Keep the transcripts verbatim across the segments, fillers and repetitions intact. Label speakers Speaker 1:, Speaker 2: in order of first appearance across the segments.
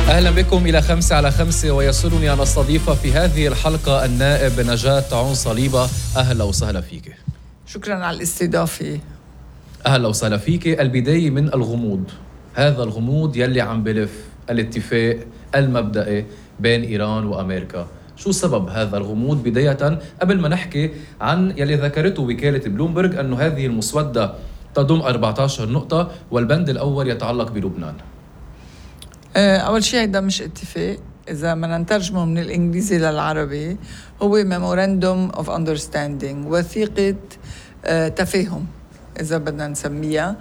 Speaker 1: أهلا بكم إلى خمسة على خمسة، ويسرني أن أستضيف في هذه الحلقة النائب نجاة عون صليبة. أهلا وسهلا فيك.
Speaker 2: شكرا على الاستضافة.
Speaker 1: أهلا وسهلا فيك. البداية من الغموض، هذا الغموض يلي عم بلف الاتفاق المبدئي بين إيران وأمريكا، شو سبب هذا الغموض بداية قبل ما نحكي عن يلي ذكرته وكالة بلومبرج أنه هذه المسودة تضم أربعة عشر نقطة والبند الأول يتعلق بلبنان؟
Speaker 2: أول شيء هيدا مش اتفاق، إذا ما نترجمه من الإنجليزي للعربي هو Memorandum of Understanding، وثيقة تفاهم إذا بدنا نسميها.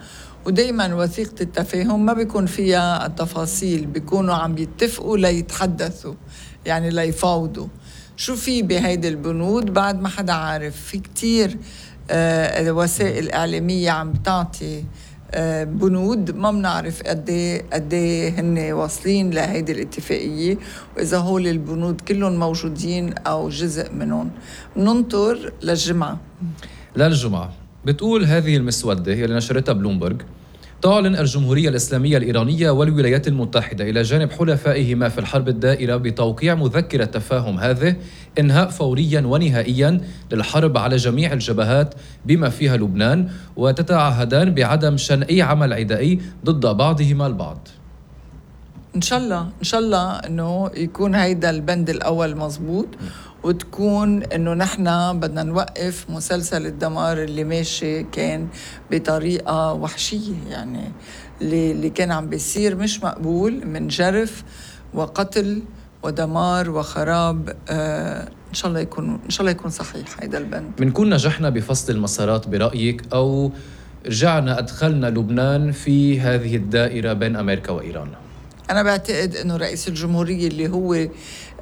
Speaker 2: ودايما وثيقة التفاهم ما بيكون فيها التفاصيل، بيكونوا عم بيتفقوا ليتحدثوا، يعني ليفاوضوا. شو في بهيدي البنود بعد ما حدا عارف. في كتير آه وسائل إعلامية عم تعطي آه بنود ما بنعرف قد قد هن واصلين لهيدي الاتفاقية، وإذا هول البنود كلهم موجودين أو جزء منهم. ننطر للجمعة.
Speaker 1: للجمعة بتقول هذه المسودة اللي نشرتها بلومبرج: تعلن الجمهورية الإسلامية الإيرانية والولايات المتحدة إلى جانب حلفائهما في الحرب الدائرة بتوقيع مذكرة تفاهم هذه إنهاء فوريا ونهائيا للحرب على جميع الجبهات بما فيها لبنان، وتتعهدان بعدم شن أي عمل عدائي ضد بعضهما البعض.
Speaker 2: إن شاء الله إن شاء الله إنه يكون هيدا البند الأول مزبوط، وتكون إنه نحن بدنا نوقف مسلسل الدمار اللي ماشي كان بطريقة وحشية، يعني اللي, اللي كان عم بيصير مش مقبول من جرف وقتل ودمار وخراب. آه إن شاء الله يكون إن شاء الله يكون صحيح هيدا البند.
Speaker 1: بنكون نجحنا بفصل المسارات برأيك، أو رجعنا أدخلنا لبنان في هذه الدائرة بين أمريكا وإيران؟
Speaker 2: أنا بعتقد إنه رئيس الجمهورية اللي هو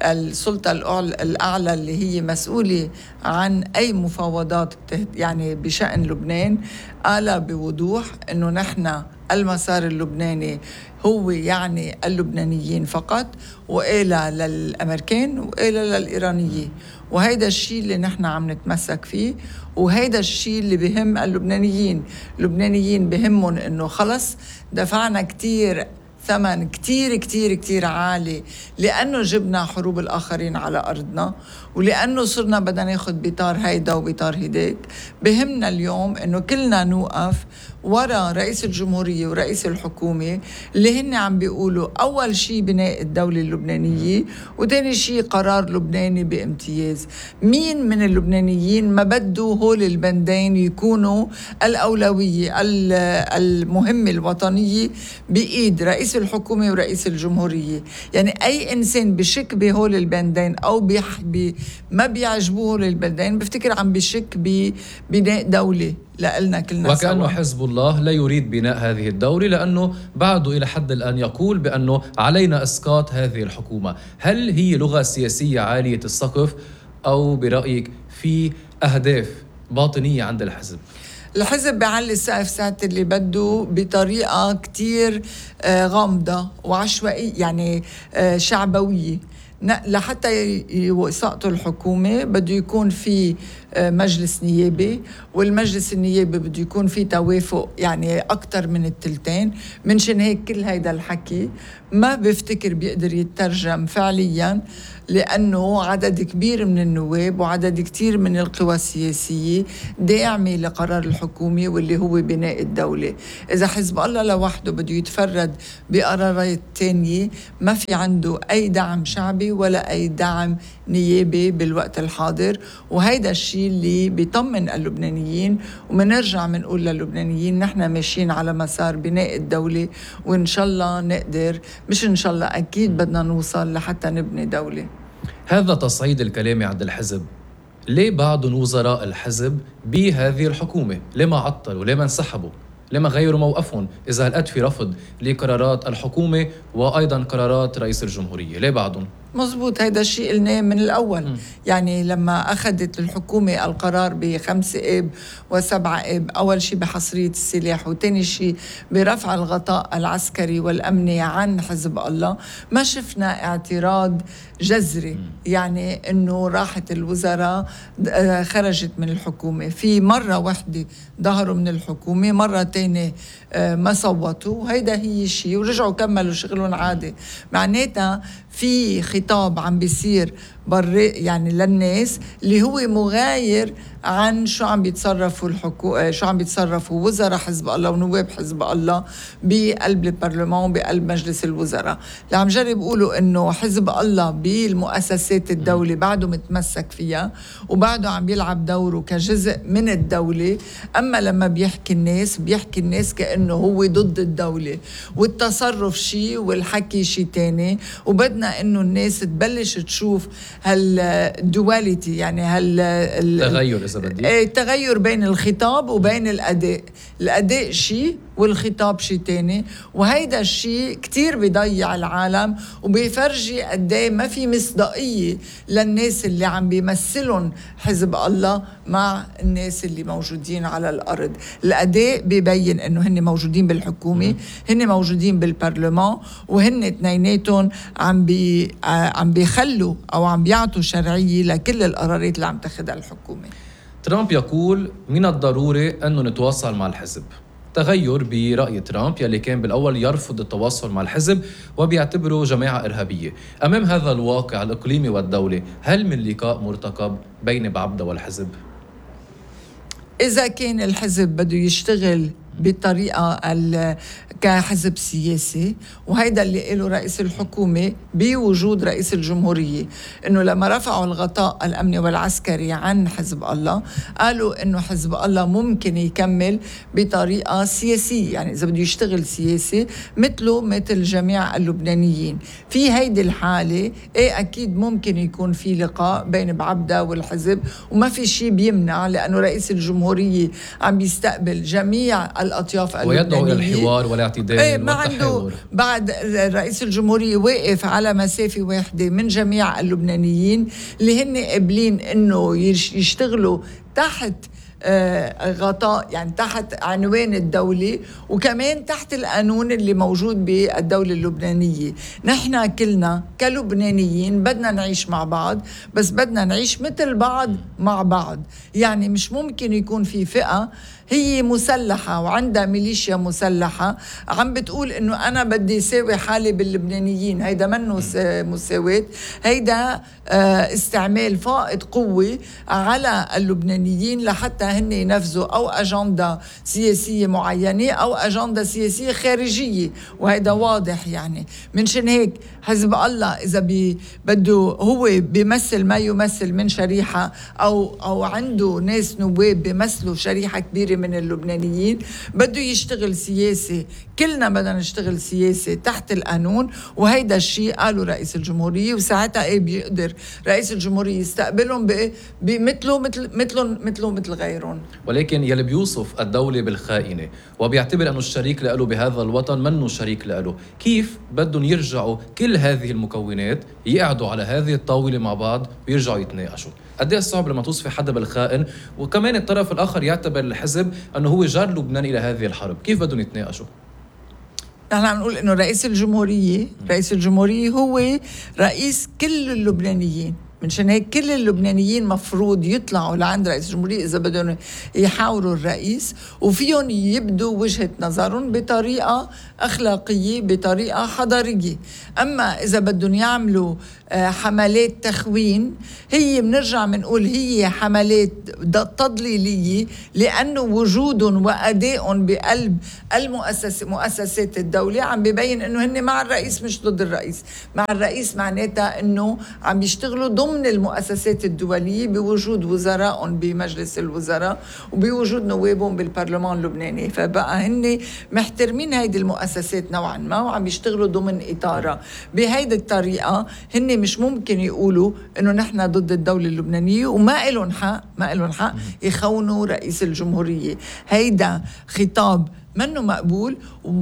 Speaker 2: السلطة الأعلى اللي هي مسؤولة عن أي مفاوضات يعني بشأن لبنان قال بوضوح إنه نحن المسار اللبناني هو يعني اللبنانيين فقط، وقال للأمريكان وقال للإيرانيين، وهيدا الشيء اللي نحن عم نتمسك فيه، وهيدا الشيء اللي بهم اللبنانيين. اللبنانيين بهمهم إنه خلص دفعنا كتير ثمن كتير كتير كتير عالي لأنه جبنا حروب الآخرين على أرضنا، ولأنه صرنا بدنا ناخد بطار هيدا وبطار هيداك. بهمنا اليوم إنه كلنا نوقف ورا رئيس الجمهورية ورئيس الحكومة اللي هن عم بيقولوا أول شيء بناء الدولة اللبنانية، وتاني شيء قرار لبناني بامتياز. مين من اللبنانيين ما بدوا هول البندين يكونوا الأولوية المهمة الوطنية بإيد رئيس الحكومة ورئيس الجمهورية؟ يعني أي إنسان بشك بهول البندين أو بيحبي ما بيعجبوه هول البندين بفتكر عم بشك ببناء دولة لألنا كلنا.
Speaker 1: وكأنه
Speaker 2: سوا.
Speaker 1: حزب الله لا يريد بناء هذه الدولة، لأنه بعده إلى حد الآن يقول بأنه علينا إسقاط هذه الحكومة. هل هي لغة سياسية عالية السقف، أو برأيك في أهداف باطنية عند الحزب؟
Speaker 2: الحزب بيعلي السقف ساعة اللي بده بطريقة كتير غامضة وعشوائية، يعني شعبوية. لحتى يسقطوا الحكومة بده يكون في مجلس نيابي، والمجلس النيابي بده يكون في توافق يعني أكتر من التلتين. منشان هيك كل هيدا الحكي ما بفتكر بيقدر يترجم فعليا، لأنه عدد كبير من النواب وعدد كتير من القوى السياسية داعمة لقرار الحكومة واللي هو بناء الدولة. إذا حزب الله لوحده بده يتفرد بقرارات تانية ما في عنده أي دعم شعبي ولا أي دعم نيابي بالوقت الحاضر. وهيدا الشيء اللي بيطمن اللبنانيين، ومنرجع منقول للبنانيين نحن ماشيين على مسار بناء الدولة، وإن شاء الله نقدر، مش إن شاء الله أكيد بدنا نوصل لحتى نبني دولة.
Speaker 1: هذا تصعيد الكلام عند الحزب. ليه بعض وزراء الحزب بهذه الحكومة ليه ما عطلوا، ليه ما انسحبوا، ليه ما غيروا موقفهم إذا هلقد في رفض لقرارات الحكومة وأيضا قرارات رئيس الجمهورية؟ ليه بعضهم؟
Speaker 2: مزبوط، هيدا الشيء قلناه من الأول.
Speaker 1: م.
Speaker 2: يعني لما أخذت الحكومة القرار بخمسة آب وسبعة آب، أول شيء بحصرية السلاح، وتاني شيء برفع الغطاء العسكري والأمني عن حزب الله، ما شفنا اعتراض جذري. م. يعني إنه راحت الوزراء خرجت من الحكومة، في مرة واحدة ظهروا من الحكومة، مرة تانية ما صوتوا، هيدا هي شيء ورجعوا كملوا شغلهم عادي. معناتها في خطاب عم بيصير بري يعني للناس اللي هو مغاير عن شو عم بيتصرفوا الحكو... شو عم بيتصرفوا وزراء حزب الله ونواب حزب الله بقلب البرلمان وبقلب مجلس الوزراء. اللي عم جرب يقولوا انه حزب الله بالمؤسسات الدولة بعده متمسك فيها وبعده عم بيلعب دوره كجزء من الدولة، اما لما بيحكي الناس بيحكي الناس كأنه هو ضد الدولة، والتصرف شيء والحكي شيء تاني. وبدنا انه الناس تبلش تشوف هالدواليتي، يعني هال
Speaker 1: تغير إذا بدي
Speaker 2: ايه تغير بين الخطاب وبين الأداء. الأداء شيء والخطاب شيء تاني، وهيدا الشيء كتير بيضيع العالم وبيفرجي قديه ما في مصداقية للناس اللي عم بيمثلون حزب الله مع الناس اللي موجودين على الأرض. الأداء بيبين إنه هن موجودين بالحكومة، هن موجودين بالبرلمان، وهن اثنيناتهم عم بي عم بيخلوا أو عم بيعطوا شرعية لكل القرارات اللي عم تاخدها الحكومة.
Speaker 1: ترامب يقول من الضروري أنه نتواصل مع الحزب. تغير برأي ترامب يلي كان بالأول يرفض التواصل مع الحزب وبيعتبره جماعة إرهابية. أمام هذا الواقع الإقليمي والدولي، هل من لقاء مرتقب بين بعبدة والحزب؟
Speaker 2: إذا كان الحزب بده يشتغل بطريقة كحزب سياسي، وهيدا اللي قاله رئيس الحكومة بوجود رئيس الجمهورية، إنه لما رفعوا الغطاء الأمني والعسكري عن حزب الله قالوا إنه حزب الله ممكن يكمل بطريقة سياسية، يعني إذا بده يشتغل سياسي مثله مثل جميع اللبنانيين. في هيدي الحالة إيه أكيد ممكن يكون في لقاء بين بعبدة والحزب، وما في شيء بيمنع، لأنه رئيس الجمهورية عم بيستقبل جميع الأطياف اللبنانية
Speaker 1: ويدعو إلى الحوار والاعتدال
Speaker 2: ايه ما عنده. بعد رئيس الجمهورية واقف على مسافة واحدة من جميع اللبنانيين اللي هن قابلين إنه يشتغلوا تحت آه غطاء، يعني تحت عنوان الدولة، وكمان تحت القانون اللي موجود بالدولة اللبنانية. نحن كلنا كلبنانيين بدنا نعيش مع بعض، بس بدنا نعيش مثل بعض مع بعض. يعني مش ممكن يكون في فئة هي مسلحة وعندها ميليشيا مسلحة عم بتقول إنه أنا بدي ساوي حالي باللبنانيين. هيدا منه مساواة، هيدا استعمال فائض قوة على اللبنانيين لحتى هن ينفذوا أو أجندة سياسية معينة أو أجندة سياسية خارجية، وهيدا واضح. يعني منشان هيك حزب الله إذا بي بده هو بيمثل ما يمثل من شريحة أو أو عنده ناس نواب بيمثلوا شريحة كبيرة من اللبنانيين، بده يشتغل سياسي. كلنا بدنا نشتغل سياسي تحت القانون، وهيدا الشيء قالوا رئيس الجمهورية، وساعتها ايه بيقدر رئيس الجمهورية يستقبلهم بمثله مثل مثلهم مثله مثل غيرهم.
Speaker 1: ولكن يلي بيوصف الدولة بالخائنة وبيعتبر أنه الشريك له بهذا الوطن منه شريك له، كيف بدهم يرجعوا كل هذه المكونات يقعدوا على هذه الطاولة مع بعض ويرجعوا يتناقشوا؟ قد ايه صعب لما توصفي حدا بالخائن وكمان الطرف الآخر يعتبر الحزب أنه هو جار لبنان إلى هذه الحرب، كيف بدهم يتناقشوا؟
Speaker 2: نحن عم نقول إنه رئيس الجمهورية رئيس الجمهورية هو رئيس كل اللبنانيين. منشان هيك كل اللبنانيين مفروض يطلعوا لعند رئيس الجمهورية إذا بدهم يحاوروا الرئيس، وفيهم يبدوا وجهة نظرهم بطريقة أخلاقية بطريقة حضارية. أما إذا بدهم يعملوا حملات تخوين، هي بنرجع بنقول هي حملات تضليلية، لأنه وجودهم وأدائهم بقلب المؤسس مؤسسات الدولة عم بيبين إنه هن مع الرئيس مش ضد الرئيس. مع الرئيس معناتها إنه عم بيشتغلوا ضمن المؤسسات الدولية بوجود وزرائهم بمجلس الوزراء وبوجود نوابهم بالبرلمان اللبناني. فبقى هن محترمين هيدي المؤسسات نوعا ما وعم يشتغلوا ضمن إطارها. بهيدي الطريقة هن مش ممكن يقولوا إنه نحن ضد الدولة اللبنانية وما إلهم حق ما إلهم حق يخونوا رئيس الجمهورية. هيدا خطاب منه مقبول،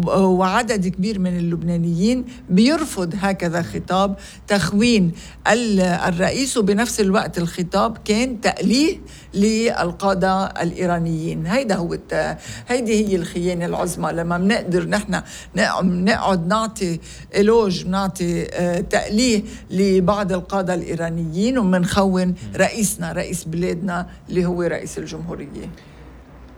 Speaker 2: وعدد كبير من اللبنانيين بيرفض هكذا خطاب تخوين الرئيس، وبنفس الوقت الخطاب كان تأليه للقادة الإيرانيين. هيدا هو الت... هيدي هي الخيانة العظمى، لما بنقدر نحن نقعد نعطي إلوج، نعطي تأليه لبعض القادة الإيرانيين، ومنخون رئيسنا، رئيس بلادنا اللي هو رئيس الجمهورية.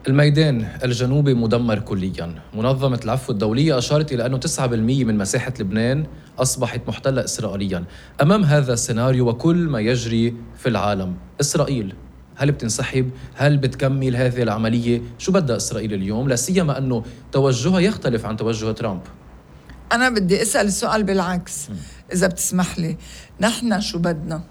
Speaker 1: الميدان الجنوبي مدمر كلياً. منظمة العفو الدولية أشارت إلى أنه تسعة بالمئة من مساحة لبنان أصبحت محتلة إسرائيلياً. أمام هذا السيناريو وكل ما يجري في العالم، إسرائيل هل بتنسحب؟ هل بتكمل هذه العملية؟ شو بدها إسرائيل اليوم؟ لا سيما أنه توجهها يختلف عن توجه ترامب.
Speaker 2: أنا بدي أسأل السؤال بالعكس، إذا بتسمح لي. نحن شو بدنا؟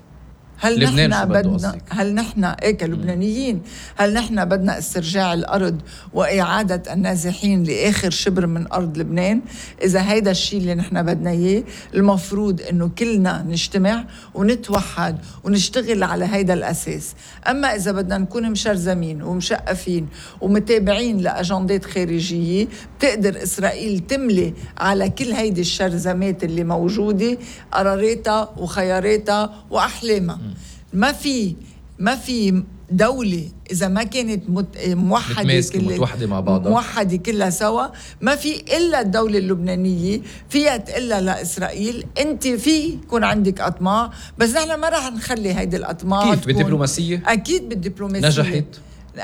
Speaker 2: هل نحن بدنا هل نحن إيه كلبنانيين هل نحن بدنا استرجاع الأرض وإعادة النازحين لآخر شبر من أرض لبنان؟ إذا هيدا الشيء اللي نحن بدنا إياه، المفروض إنه كلنا نجتمع ونتوحد ونشتغل على هيدا الأساس. أما إذا بدنا نكون مشرزمين ومشقفين ومتابعين لأجندات خارجية، بتقدر إسرائيل تملي على كل هيدي الشرزمات اللي موجودة قراراتها وخياراتها وأحلامها. ما في ما في دولة إذا ما كانت موحدة كل
Speaker 1: متوحدة مع بعضها
Speaker 2: موحدة كلها سوا، ما في إلا الدولة اللبنانية فيها تقلها لإسرائيل أنت في يكون عندك أطماع، بس نحن ما رح نخلي هيدي الأطماع.
Speaker 1: كيف؟ بالدبلوماسية؟
Speaker 2: أكيد بالدبلوماسية
Speaker 1: نجحت.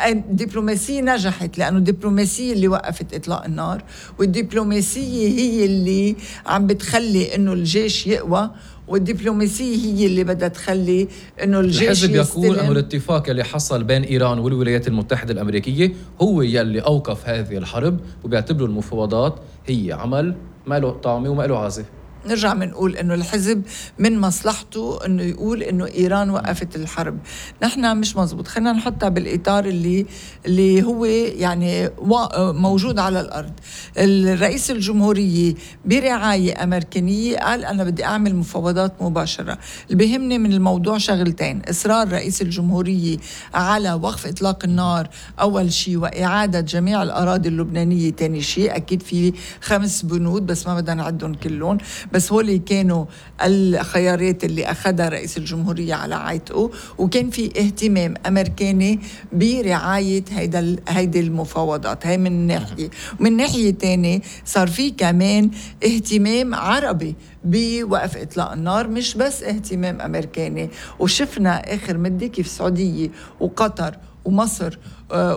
Speaker 2: الدبلوماسية نجحت، لأنه الدبلوماسية اللي وقفت إطلاق النار، والدبلوماسية هي اللي عم بتخلي إنه الجيش يقوى، والدبلوماسية هي اللي بدها تخلي إنه الجيش
Speaker 1: الحزب
Speaker 2: يستلم.
Speaker 1: يقول أنه الاتفاق اللي حصل بين إيران والولايات المتحدة الأمريكية هو يلي أوقف هذه الحرب، وبيعتبروا المفاوضات هي عمل ما له طعمة وما له عازة.
Speaker 2: نرجع منقول إنه الحزب من مصلحته إنه يقول إنه إيران وقفت الحرب. نحن مش مزبوط، خلينا نحطها بالإطار اللي اللي هو يعني موجود على الأرض. الرئيس الجمهورية برعاية أمريكية قال أنا بدي أعمل مفاوضات مباشرة. اللي بيهمني من الموضوع شغلتين: إصرار رئيس الجمهورية على وقف إطلاق النار أول شيء، وإعادة جميع الأراضي اللبنانية تاني شيء. أكيد في خمس بنود بس ما بدنا نعدهم كلهم، بس هولي كانوا الخيارات اللي أخذها رئيس الجمهورية على عاتقه. وكان في اهتمام أمريكاني برعاية هيدا هيدي المفاوضات. هاي من ناحية، ومن ناحية تانية صار في كمان اهتمام عربي بوقف إطلاق النار، مش بس اهتمام أمريكاني. وشفنا آخر مدة كيف السعودية وقطر ومصر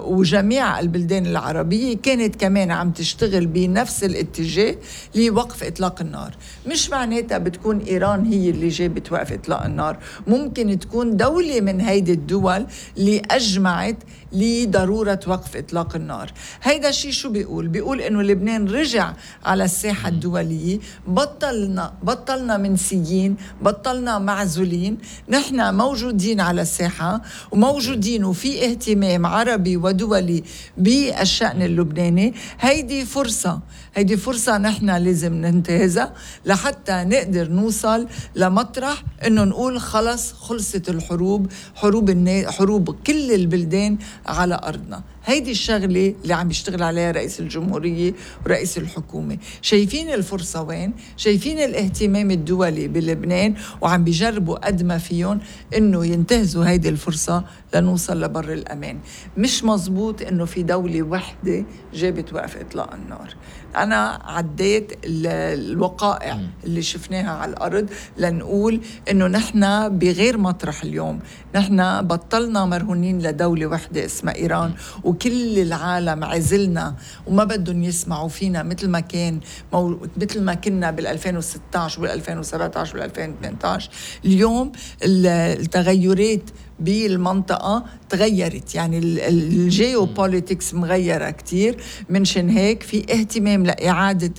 Speaker 2: وجميع البلدان العربية كانت كمان عم تشتغل بنفس الاتجاه لوقف إطلاق النار. مش معناتها بتكون إيران هي اللي جابت وقف إطلاق النار، ممكن تكون دولة من هيدي الدول اللي أجمعت لضرورة وقف إطلاق النار. هيدا الشيء شو بيقول؟ بيقول إنه لبنان رجع على الساحة الدولية، بطلنا بطلنا منسيين، بطلنا معزولين، نحن موجودين على الساحة وموجودين، وفي اهتمام عربي ودولي بالشأن اللبناني. هيدي فرصة هيدي فرصة نحن لازم ننتهزها لحتى نقدر نوصل لمطرح إنه نقول خلص خلصت الحروب، حروب النا... حروب كل البلدان على أرضنا. هيدي الشغلة اللي عم يشتغل عليها رئيس الجمهورية ورئيس الحكومة. شايفين الفرصة وين؟ شايفين الاهتمام الدولي بلبنان، وعم بيجربوا قد ما فيهم إنه ينتهزوا هيدي الفرصة لنوصل لبر الأمان. مش مزبوط إنه في دولة وحدة جابت وقف إطلاق النار. أنا عديت الوقائع اللي شفناها على الأرض لنقول إنه نحن بغير مطرح اليوم. نحن بطلنا مرهونين لدولة وحدة اسمها إيران، وكل العالم عزلنا وما بدهم يسمعوا فينا مثل ما كان مو... مثل ما كنا بال2016 وبال2017 وبال2018. اليوم التغيرات بالمنطقة تغيرت، يعني الجيوبوليتكس مغيرة كتير. منشان هيك في اهتمام لإعادة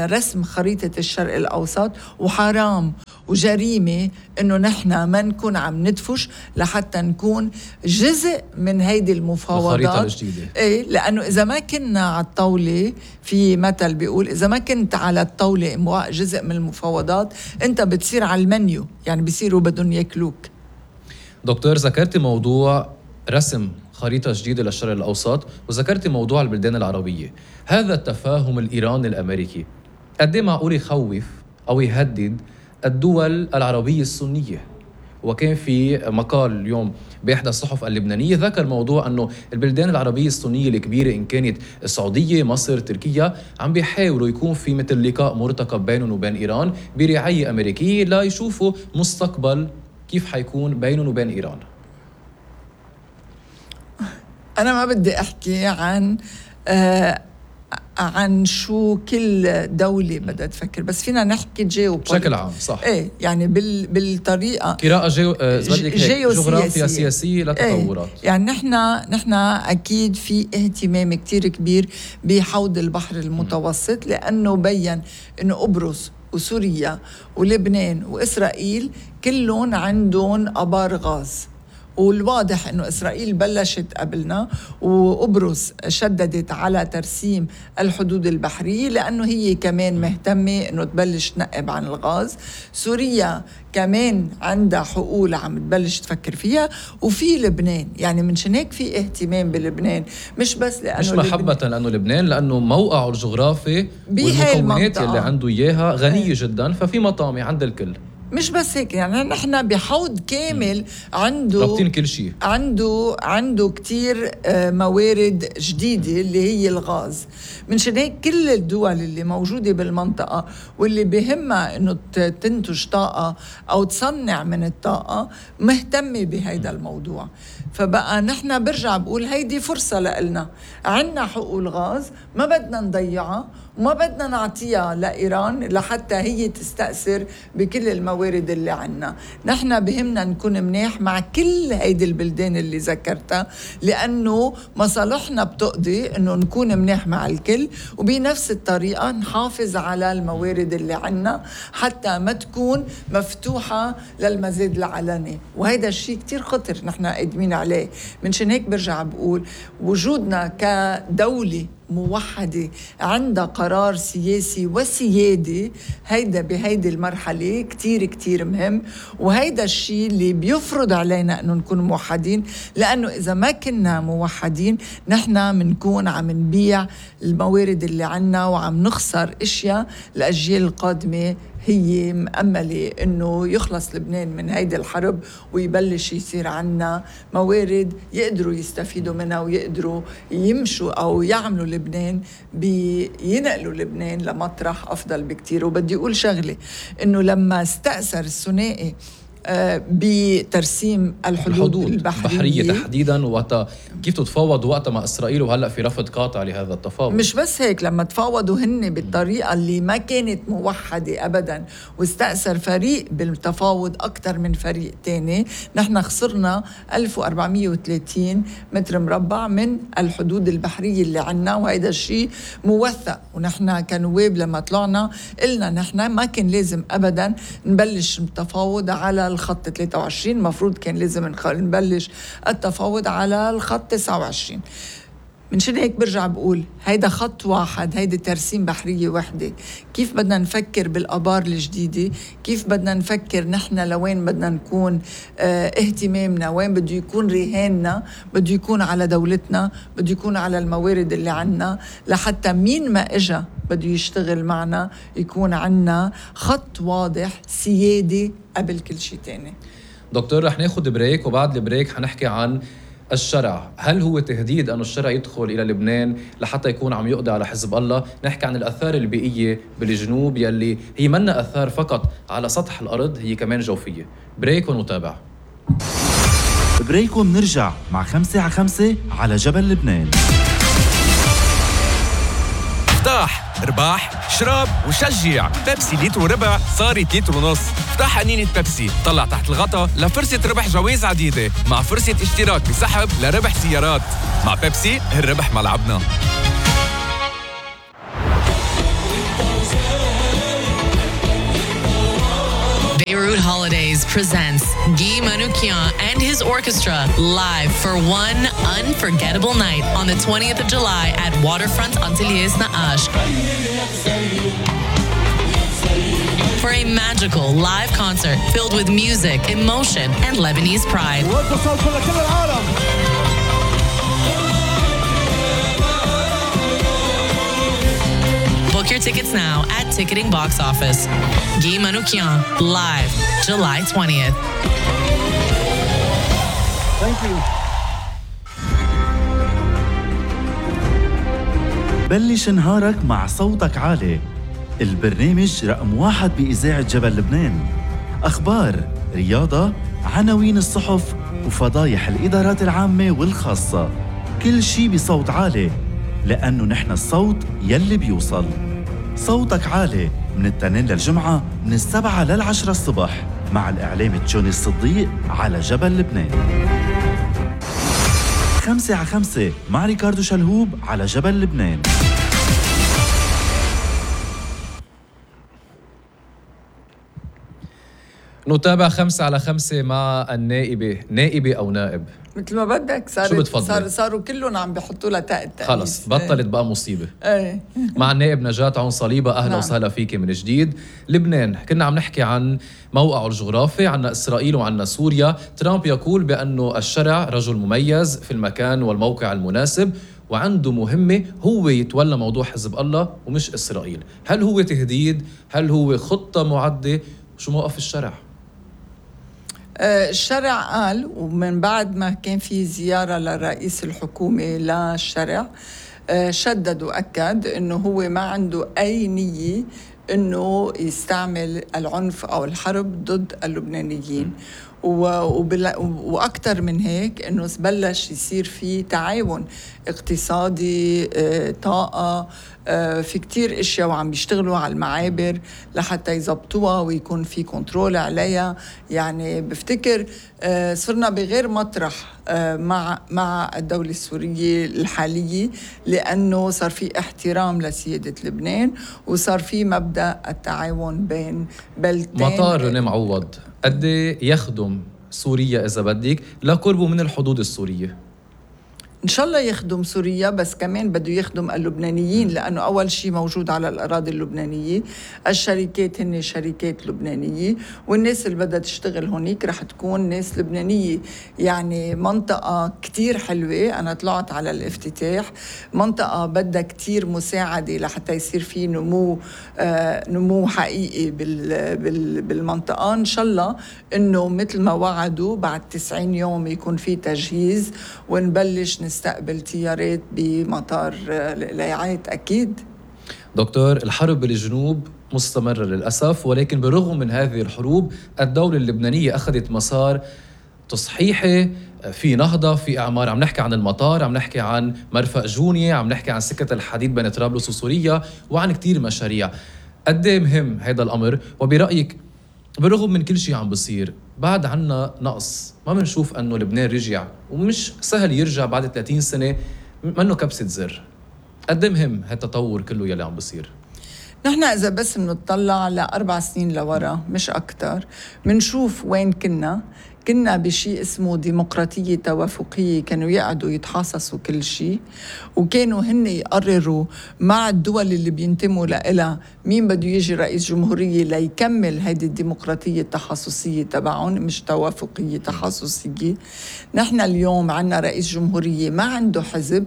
Speaker 2: رسم خريطة الشرق الأوسط، وحرام وجريمة إنه نحن ما نكون عم ندفش لحتى نكون جزء من هيدي المفاوضات
Speaker 1: الخريطة الجديدة.
Speaker 2: إيه، لأنه إذا ما كنا على الطاولة، في مثل بيقول إذا ما كنت على الطاولة جزء من المفاوضات أنت بتصير على المنيو، يعني بيصيروا بدهم ياكلوك.
Speaker 1: دكتور، ذكرت موضوع رسم خريطة جديدة للشرق الأوسط، وذكرت موضوع البلدان العربية. هذا التفاهم الإيراني الأمريكي قد ايه معقول يخوف أو يهدد الدول العربية السنية؟ وكان في مقال اليوم بإحدى الصحف اللبنانية ذكر موضوع أنه البلدان العربية السنية الكبيرة إن كانت السعودية، مصر، تركيا، عم بيحاولوا يكون في مثل لقاء مرتقب بينهم وبين إيران برعاية أمريكية لا يشوفوا مستقبل كيف حيكون بينهم وبين إيران.
Speaker 2: أنا ما بدي أحكي عن آه عن شو كل دولة بدها تفكر، بس فينا نحكي جيو
Speaker 1: بشكل عام. صح.
Speaker 2: ايه يعني بال بالطريقة
Speaker 1: قراءة جيو جغرافيا سياسية لتطورات.
Speaker 2: ايه يعني نحن نحن أكيد في اهتمام كتير كبير بحوض البحر المتوسط، لأنه بيّن إنه قبرص وسوريا ولبنان وإسرائيل كلهم عندهم آبار غاز، والواضح انه اسرائيل بلشت قبلنا وقبرص شددت على ترسيم الحدود البحريه لانه هي كمان مهتمه انه تبلش تنقب عن الغاز. سوريا كمان عندها حقول عم تبلش تفكر فيها، وفي لبنان. يعني من هيك في اهتمام بلبنان، مش بس لانه
Speaker 1: مش محبه
Speaker 2: لبنان
Speaker 1: لانه لبنان، لانه موقعه الجغرافي والمكونات اللي عنده اياها غنيه جدا، ففي مطامع عند الكل.
Speaker 2: مش بس هيك، يعني نحن بحوض كامل عنده
Speaker 1: رابطين كل شيء،
Speaker 2: عنده عنده كتير موارد جديدة اللي هي الغاز. من هيك كل الدول اللي موجودة بالمنطقة واللي بهمها انه تنتج طاقة او تصنع من الطاقة مهتمة بهيدا الموضوع. فبقى نحن برجع بقول هيدي فرصة لنا، عنا حقول غاز ما بدنا نضيعها وما بدنا نعطيها لإيران لحتى هي تستأثر بكل الموارد اللي عنا. نحن بهمنا نكون مناح مع كل هيدي البلدان اللي ذكرتها، لأنه مصالحنا بتقضي أنه نكون مناح مع الكل، وبنفس الطريقة نحافظ على الموارد اللي عنا حتى ما تكون مفتوحة للمزيد العلني. وهيدا الشيء كتير خطر نحن قادمين عليه. من هيك برجع بقول وجودنا كدولة موحدة عندها قرار سياسي وسيادي، هيدا بهيدي المرحلة كتير كتير مهم، وهيدا الشيء اللي بيفرض علينا أنه نكون موحدين، لأنه إذا ما كنا موحدين نحن منكون عم نبيع الموارد اللي عنا وعم نخسر اشياء الأجيال القادمة. هي مأملة إنه يخلص لبنان من هيدي الحرب ويبلش يصير عنا موارد يقدروا يستفيدوا منها ويقدروا يمشوا أو يعملوا لبنان بينقلوا لبنان لمطرح أفضل بكتير. وبدي أقول شغلة، إنه لما استأثر الثنائي بترسيم الحدود, الحدود البحرية,
Speaker 1: البحرية تحديداً، وقتها كيف تتفاوض وقتها مع إسرائيل، وهلأ في رفض قاطع لهذا التفاوض.
Speaker 2: مش بس هيك، لما تفاوضوا هن بالطريقة اللي ما كانت موحدة أبداً واستأثر فريق بالتفاوض أكتر من فريق تاني، نحن خسرنا ألف وأربعمية وثلاثين متر مربع من الحدود البحرية اللي عنا، وهذا الشيء موثق. ونحن كنواب لما طلعنا قلنا نحن ما كان لازم أبداً نبلش التفاوض على الخط ثلاثة وعشرين، مفروض كان لازم نبلش التفاوض على الخط تسعة وعشرين. من شان هيك برجع بقول هيدا خط واحد، هيدا ترسيم بحرية وحدة. كيف بدنا نفكر بالآبار الجديدة؟ كيف بدنا نفكر نحن لوين بدنا نكون؟ اه اهتمامنا وين بده يكون؟ رهاننا بده يكون على دولتنا، بده يكون على الموارد اللي عنا، لحتى مين ما اجا بده يشتغل معنا يكون عنا خط واضح سيادي قبل كل شيء تاني.
Speaker 1: دكتور رح ناخد بريك، وبعد البريك حنحكي عن الشرع. هل هو تهديد أن الشرع يدخل إلى لبنان لحتى يكون عم يقضي على حزب الله؟ نحكي عن الآثار البيئية بالجنوب يلي هي منا آثار فقط على سطح الأرض، هي كمان جوفية. بريك ونتابع.
Speaker 3: بريك ومنرجع مع خمسة على خمسة على جبل لبنان.
Speaker 4: افتح، ارباح، اشرب وشجع. بيبسي لتر وربع صارت لتر ونص. افتح قنينة بيبسي، طلع تحت الغطا لفرصة ربح جوائز عديدة، مع فرصة اشتراك بسحب لربح سيارات. مع بيبسي الربح ملعبنا.
Speaker 5: Beirut Holidays presents Guy Manoukian and his orchestra live for one unforgettable night on the twentieth of July at Waterfront Antilles Na'ash. For a magical live concert filled with music, emotion, and Lebanese pride. Book your tickets now at Ticketing Box Office. Guy Manoukian, live July twentieth.
Speaker 3: Thank you. بلش نهارك مع صوتك عالي، البرنامج رقم واحد بإذاعة جبل لبنان. أخبار، رياضة، عناوين الصحف وفضايح الإدارات العامة والخاصة، كل شي بصوت عالي، لأنه نحن الصوت يلي بيوصل. صوتك عالي من التنين للجمعة من السبعة للعشرة الصبح مع الإعلام تشوني الصديق على جبل لبنان. خمسة على خمسة مع ريكاردو شلهوب على جبل لبنان.
Speaker 1: نتابع خمسة على خمسة مع النائبة، نائبة أو نائب
Speaker 2: مثل ما بدك. صار
Speaker 1: شو بتفضلي؟
Speaker 2: صار صاروا كلهم عم بيحطوا لها تاء التأنيث.
Speaker 1: خلص بطلت بقى مصيبة.
Speaker 2: ايه
Speaker 1: مع النائب نجاة عون صليبة. أهلا
Speaker 2: نعم.
Speaker 1: وسهلا فيك من جديد. لبنان كنا عم نحكي عن موقعه الجغرافي، عنا إسرائيل وعنا سوريا. ترامب يقول بأنه الشرع رجل مميز في المكان والموقع المناسب وعنده مهمة هو يتولى موضوع حزب الله ومش إسرائيل. هل هو تهديد؟ هل هو خطة معدة؟ شو موقف الشرع؟
Speaker 2: الشرع قال، ومن بعد ما كان في زيارة لرئيس الحكومة للشرع شدد وأكد أنه هو ما عنده أي نية أنه يستعمل العنف أو الحرب ضد اللبنانيين. وأكثر من هيك أنه بلش يصير في تعاون اقتصادي، طاقة، في كتير اشياء وعم بيشتغلوا على المعابر لحتى يزبطوها ويكون في كنترول عليها. يعني بفتكر صرنا بغير مطرح مع مع الدولة السورية الحالية، لأنه صار في احترام لسيادة لبنان وصار في مبدأ التعاون بين بلدين.
Speaker 1: مطار روني معوض قد يخدم سوريا إذا بدك لقربه من الحدود السورية؟
Speaker 2: إن شاء الله يخدم سوريا، بس كمان بده يخدم اللبنانيين، لأنه أول شيء موجود على الأراضي اللبنانية، الشركات هن شركات لبنانية، والناس اللي بدها تشتغل هونيك رح تكون ناس لبنانية. يعني منطقة كتير حلوة، أنا طلعت على الافتتاح، منطقة بدها كتير مساعدة لحتى يصير في نمو آه نمو حقيقي بال بال بالمنطقة. إن شاء الله إنه مثل ما وعدوا بعد تسعين يوم يكون في تجهيز ونبلش نستقبل طيارات بمطار القلايعات. أكيد
Speaker 1: دكتور، الحرب بالجنوب مستمرة للأسف، ولكن بالرغم من هذه الحروب الدولة اللبنانية أخذت مسار تصحيحي، في نهضة، في إعمار. عم نحكي عن المطار، عم نحكي عن مرفأ جونية، عم نحكي عن سكة الحديد بين طرابلس وسوريا، وعن كتير مشاريع. قد ايه مهم هذا الأمر؟ وبرأيك بالرغم من كل شيء عم بصير بعد عنا نقص، ما بنشوف أنه لبنان رجع، ومش سهل يرجع بعد ثلاثين سنة، منه كبسة زر. قد مهم هالتطور كله يلي عم بصير؟
Speaker 2: نحن إذا بس منطلع لأربع سنين لورا مش أكتر، منشوف وين كنا. كنا بشيء اسمه ديمقراطية توافقية، كانوا يقعدوا يتحاصصوا كل شيء، وكانوا هن يقرروا مع الدول اللي بينتموا لها مين بده يجي رئيس جمهورية ليكمل هيدي الديمقراطية التخصصية تبعهم، مش توافقية تخصصية. نحن اليوم عنا رئيس جمهورية ما عنده حزب،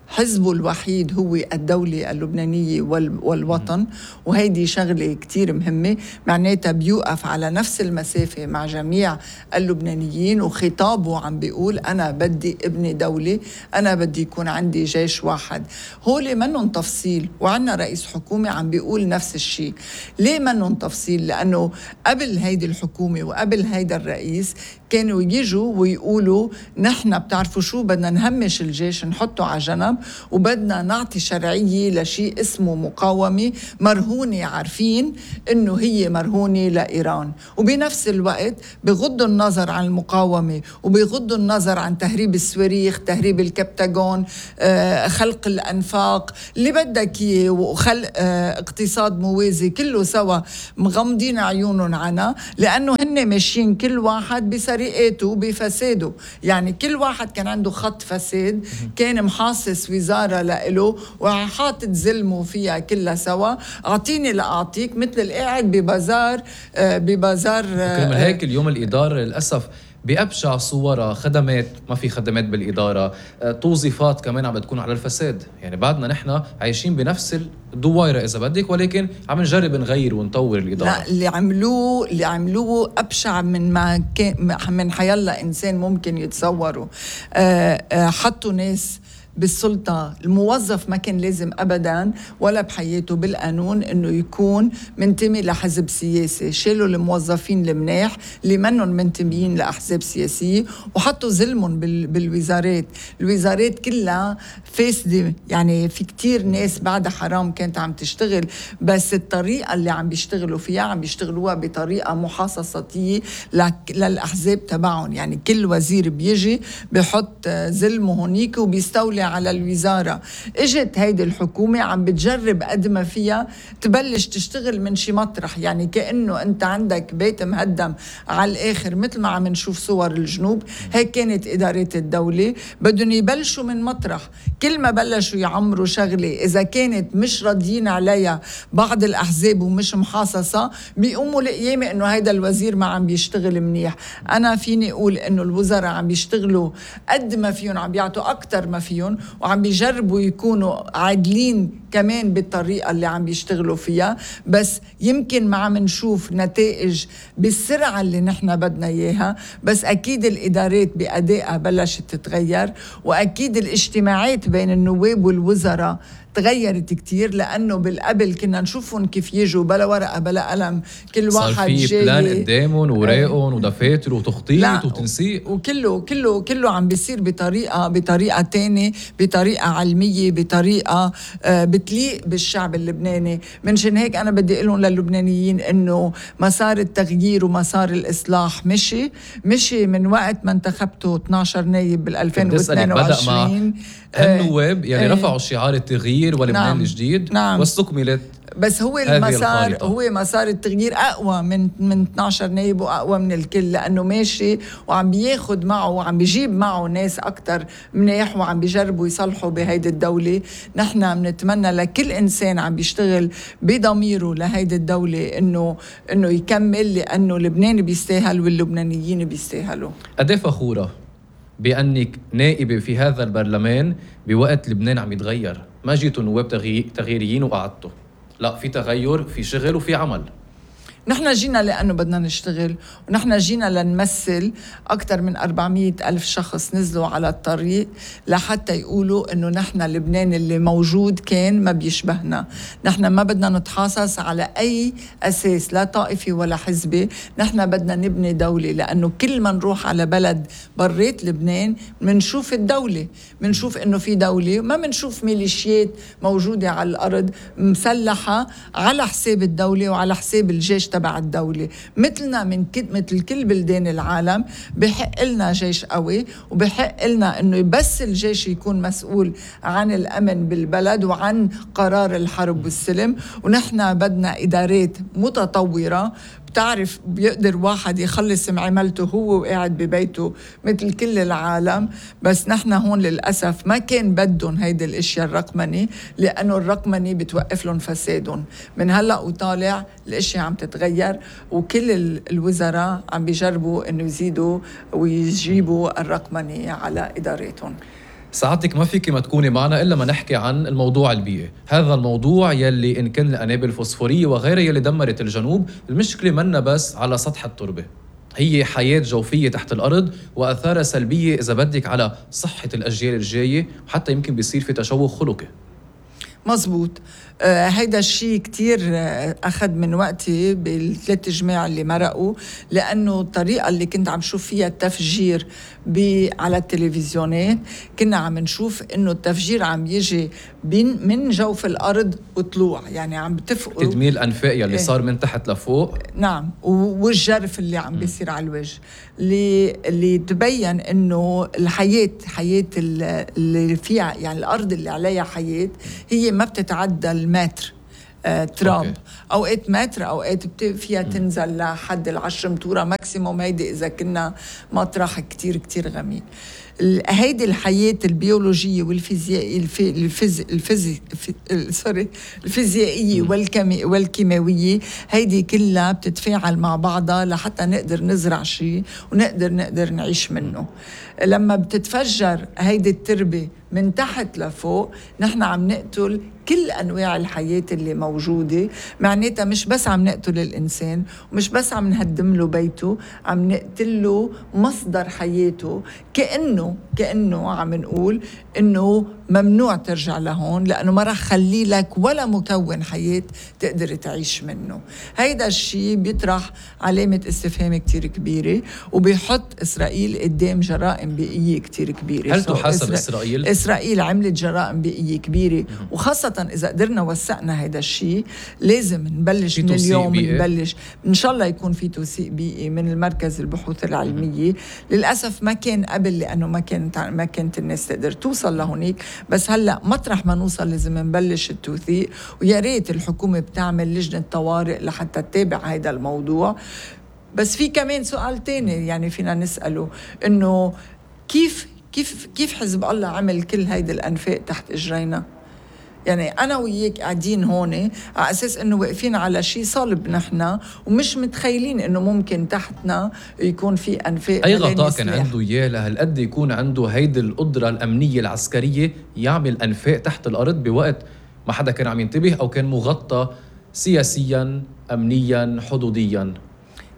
Speaker 2: حزبه الوحيد هو الدولة اللبنانية والوطن، وهيدي شغلة كتير مهمة، معناتها بيوقف على نفس المسافة مع جميع اللبنانيين، وخطابه عم بيقول أنا بدي ابني دولة، أنا بدي يكون عندي جيش واحد. هولي منهم تفصيل، وعنا رئيس حكومة عم بيقول نفس الشيء. ليه منهم تفصيل؟ لأنه قبل هيدي الحكومة وقبل هيدا الرئيس كانوا يجوا ويقولوا نحن بتعرفوا شو بدنا نهمش الجيش نحطه على جنب، وبدنا نعطي شرعية لشيء اسمه مقاومة مرهونة، عارفين انه هي مرهونة لإيران، وبنفس الوقت بغضوا النظر عن المقاومة وبغضوا النظر عن تهريب الصواريخ، تهريب الكبتاغون، آه، خلق الأنفاق اللي بدك اياه، وخلق آه، اقتصاد موازي، كله سوا مغمضين عيونهم عنها، لأنه هن ماشيين كل واحد بسرقاته وبفساده. يعني كل واحد كان عنده خط فساد، كان محاصص وزارة لإله وحاطط زلمه فيها كلها سوا، أعطيني لأعطيك، مثل القاعد ببازار آه، ببازار
Speaker 1: كرمال هيك اليوم الإدارة للأسف بأبشع صورها، خدمات ما في خدمات بالإدارة، توظيفات كمان عم بتكون على الفساد. يعني بعدنا نحن عايشين بنفس الدوائرة إذا بدك، ولكن عم نجرب نغير ونطور الإدارة.
Speaker 2: لا، اللي عملوه اللي عملوه أبشع من ما كان من حيالله إنسان ممكن يتصوروا. أه أه حطوا ناس بالسلطة، الموظف ما كان لازم أبداً ولا بحياته بالقانون إنه يكون منتمي لحزب سياسي. شالوا الموظفين المناح اللي منهم منتميين لأحزاب سياسية وحطوا ظلمهم بالوزارات. الوزارات كلها فاسدة، يعني في كتير ناس بعد حرام كانت عم تشتغل، بس الطريقة اللي عم بيشتغلوا فيها عم بيشتغلوها بطريقة محاصصاتية للأحزاب تبعهم. يعني كل وزير بيجي بيحط ظلمه هونيك وبيستولي على الوزارة. اجت هيدي الحكومة عم بتجرب قد ما فيها تبلش تشتغل من شي مطرح، يعني كأنه انت عندك بيت مهدم على الآخر، مثل ما عم نشوف صور الجنوب. هيك كانت إدارات الدولة، بدهم يبلشوا من مطرح. كل ما بلشوا يعمروا شغلة إذا كانت مش راضيين عليها بعض الأحزاب ومش محاصصة، بيقوموا لقيامة إنه هيدا الوزير ما عم بيشتغل منيح. أنا فيني أقول إنه الوزراء عم بيشتغلوا قد ما فيهم، عم بيعطوا أكتر ما فيهم، وعم بيجربوا يكونوا عادلين كمان بالطريقة اللي عم بيشتغلوا فيها، بس يمكن ما عم نشوف نتائج بالسرعة اللي نحن بدنا إياها. بس أكيد الإدارات بأدائها بلشت تتغير، وأكيد الاجتماعات بين النواب والوزراء تغيرت كتير، لأنه بالقبل كنا نشوفهم كيف يجوا بلا ورقة بلا قلم، كل واحد جاي
Speaker 1: صار في بلان قدامهم وراقهم ودفاتر وتخطيط وتنسيق،
Speaker 2: وكله كله كله عم بيصير بطريقة بطريقة تانية، بطريقة علمية، بطريقة آه بتليق بالشعب اللبناني. منشان هيك أنا بدي أقولهم للبنانيين إنه مسار التغيير ومسار الإصلاح مشي مشي من وقت ما انتخبتوا اثني عشر نايب بالألفين واثنين وعشرين.
Speaker 1: النواب يلي رفعوا شعار التغيير ولبنان نعم الجديد
Speaker 2: نعم
Speaker 1: واستكملت.
Speaker 2: بس هو المسار هو مسار التغيير أقوى من من اثني عشر نائب وأقوى من الكل، لأنه ماشي وعم بياخد معه وعم بيجيب معه ناس أكتر منيح، وعم بيجربوا يصلحوا بهيدي الدولة. نحن بنتمنى لكل إنسان عم بيشتغل بضميره لهيدي الدولة إنه إنه يكمل، لأنه لبنان بيستاهل واللبنانيين بيستاهلوا.
Speaker 1: قديه فخورة بأنك نائبة في هذا البرلمان بوقت لبنان عم يتغير، ما جيتوا نواب تغييريين وقعدتوا، لا، في تغير، في شغل وفي عمل.
Speaker 2: نحن جينا لأنه بدنا نشتغل، ونحن جينا لنمثل. أكثر من أربعمية ألف شخص نزلوا على الطريق لحتى يقولوا إنه نحن لبنان اللي موجود كان ما بيشبهنا. نحن ما بدنا نتحاصص على أي أساس، لا طائفي ولا حزبي. نحن بدنا نبني دولة، لأنه كل ما نروح على بلد بريت لبنان منشوف الدولة، منشوف إنه في دولة، ما منشوف ميليشيات موجودة على الأرض مسلحة على حساب الدولة وعلى حساب الجيش تبع الدولة. مثلنا من كد مثل كل بلدان العالم بحق لنا جيش قوي، وبحق لنا انه بس الجيش يكون مسؤول عن الامن بالبلد وعن قرار الحرب والسلم. ونحن بدنا ادارات متطورة بتعرف بيقدر واحد يخلص معاملته هو وقاعد ببيته مثل كل العالم. بس نحن هون للأسف ما كان بدهم هيدا الاشياء الرقمني، لأنه الرقمني بتوقف لهم فسادهم. من هلأ وطالع الاشياء عم تتغير، وكل الوزراء عم بيجربوا انه يزيدوا ويجيبوا الرقمني على إداراتهم.
Speaker 1: سعادتك ما فيك ما تكوني معنا إلا ما نحكي عن الموضوع البيئي، هذا الموضوع يلي إن كان الأنابل الفوسفورية وغيرها يلي دمرت الجنوب. المشكلة منا بس على سطح التربة، هي حياة جوفية تحت الأرض وأثارها سلبية إذا بدك على صحة الأجيال الجاية، وحتى يمكن بيصير في تشوه خلقي.
Speaker 2: مزبوط. آه هيدا الشيء كتير آه أخذ من وقتي بالثلاث جماع اللي مرقوا، لأنه الطريقة اللي كنت عم شوف فيها التفجير على التلفزيونات كنا عم نشوف إنه التفجير عم يجي من جوف الأرض وطلوع، يعني عم بتفقوا
Speaker 1: تدمير الأنفاق اللي إيه؟ صار من تحت لفوق.
Speaker 2: نعم، والجرف اللي عم بيصير على الوجه، اللي, اللي تبين إنه الحياة حياة اللي فيها، يعني الأرض اللي عليها حياة هي ما بتتعدى المتر آه، تراب. أوكي. أوقات متر، أوقات فيها تنزل لحد العشر متورة ماكسيموم، هيدي إذا كنا مطرح كتير كتير غميق. هيدي الحياة البيولوجية والفيزيائية الفيز الفيز سوري الفيزيائية والكيمي والكيماوية، هيدي كلها بتتفاعل مع بعضها لحتى نقدر نزرع شيء ونقدر نقدر نعيش منه. لما بتتفجر هيدي التربة من تحت لفوق، نحن عم نقتل كل أنواع الحياة اللي موجودة. معناتها مش بس عم نقتل الإنسان، ومش بس عم نهدم له بيته، عم نقتله مصدر حياته. كأنه كأنه عم نقول إنه ممنوع ترجع لهون، لأنه ما رح خلي لك ولا مكون حياة تقدر تعيش منه. هيدا الشيء بيطرح علامة استفهام كتير كبيرة، وبيحط إسرائيل قدام جرائم بيئية كتير كبيرة.
Speaker 1: هل تحاسب إسرائيل؟
Speaker 2: إسرائيل عملت جرائم بيئية كبيرة، وخاصة إذا قدرنا وثقنا هيدا الشيء. لازم نبلش من اليوم، نبلش إن شاء الله يكون في توثيق بيئي من المركز البحوث العلمية. للأسف ما كان قبل، لأنه ما كانت ما كانت الناس تقدر توصل لهونيك، بس هلأ مطرح ما نوصل لازم نبلش التوثيق. ويا ريت الحكومة بتعمل لجنة طوارئ لحتى تتابع هيدا الموضوع. بس في كمان سؤال تاني يعني فينا نسأله، إنه كيف كيف كيف حزب الله عمل كل هيدا الأنفاق تحت إجرينا؟ يعني أنا وياك قاعدين هون على أساس إنه واقفين على شيء صلب نحن، ومش متخيلين إنه ممكن تحتنا يكون في أنفاق.
Speaker 1: أي غطاء كان عنده إياه لهالقد يكون عنده هيدي القدرة الأمنية العسكرية يعمل أنفاق تحت الأرض بوقت ما حدا كان عم ينتبه، أو كان مغطى سياسيا أمنيا حدوديا؟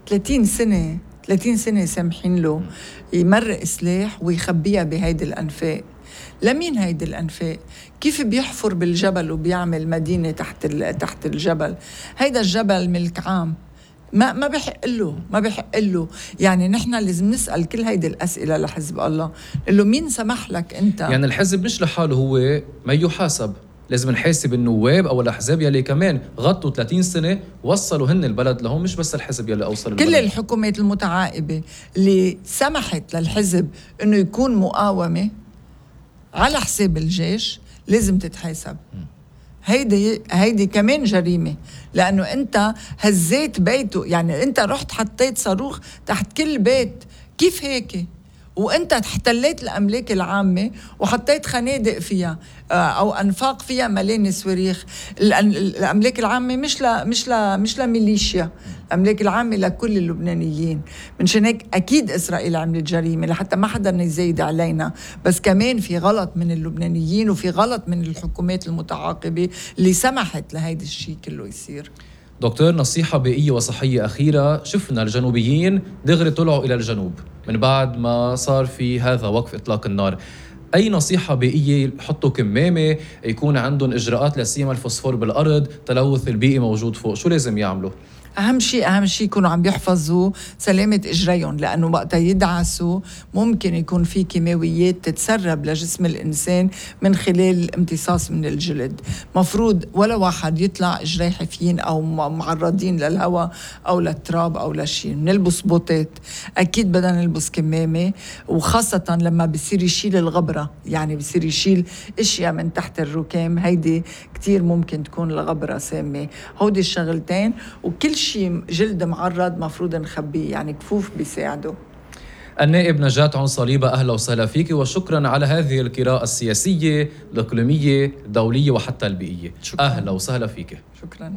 Speaker 2: ثلاثين سنة ثلاثين سنة سامحين له يمرق سلاح ويخبيها بهيدي الأنفاق. لمين هيدي الأنفاق؟ كيف بيحفر بالجبل وبيعمل مدينة تحت تحت الجبل؟ هيدا الجبل ملك عام، ما ما بيحق له ما بيحق له. يعني نحن لازم نسأل كل هيدي الأسئلة لحزب الله، نقول له مين سمح لك أنت؟
Speaker 1: يعني الحزب مش لحاله هو ما يحاسب، لازم نحاسب النواب أو الأحزاب يلي كمان غطوا ثلاثين سنة وصلوا هن البلد لهم، مش بس الحزب يلي أوصل البلد.
Speaker 2: كل الحكومات المتعاقبة اللي سمحت للحزب إنه يكون مقاومة على حساب الجيش لازم تتحاسب. هيدي هيدي كمان جريمة، لأنه أنت هزيت بيته. يعني أنت رحت حطيت صاروخ تحت كل بيت، كيف هيك؟ وأنت احتليت الأملاك العامة وحطيت خنادق فيها أو أنفاق فيها مليان صواريخ. الأملاك العامة مش ل مش ل مش لميليشيا، الأملاك العامة لكل اللبنانيين. منشان هيك أكيد إسرائيل عملت جريمة لحتى ما حدا يزايد علينا، بس كمان في غلط من اللبنانيين وفي غلط من الحكومات المتعاقبة اللي سمحت لهيدا الشيء كله يصير.
Speaker 1: دكتور، نصيحة بيئية وصحية أخيرة. شفنا الجنوبيين دغري طلعوا إلى الجنوب من بعد ما صار في هذا وقف إطلاق النار. أي نصيحة بيئية؟ يحطوا كمامة، يكون عندهم إجراءات لسيما الفوسفور بالأرض، تلوث البيئي موجود فوق، شو لازم يعملوا؟
Speaker 2: أهم شيء أهم شيء يكونوا عم بيحفظوا سلامة إجريهم، لأنه وقت يدعسوا ممكن يكون في كيماويات تتسرب لجسم الإنسان من خلال امتصاص من الجلد. مفروض ولا واحد يطلع إجري حافيين أو معرضين للهواء أو للتراب أو لشيء. نلبس بوتات، أكيد بدنا نلبس كمامة، وخاصة لما بصير يشيل الغبرة، يعني بصير يشيل إشياء من تحت الركام، هيدي كتير ممكن تكون الغبرة سامة. هودي الشغلتين، وكل شيء جلد معرض مفروض نخبيه، يعني كفوف بيساعدوا.
Speaker 1: النائب نجاة عون صليبة، أهلا وسهلا فيك، وشكرا على هذه القراءة السياسية الإقليمية الدولية وحتى البيئية.
Speaker 2: شكرا.
Speaker 1: أهلا وسهلا فيك.
Speaker 2: شكرا.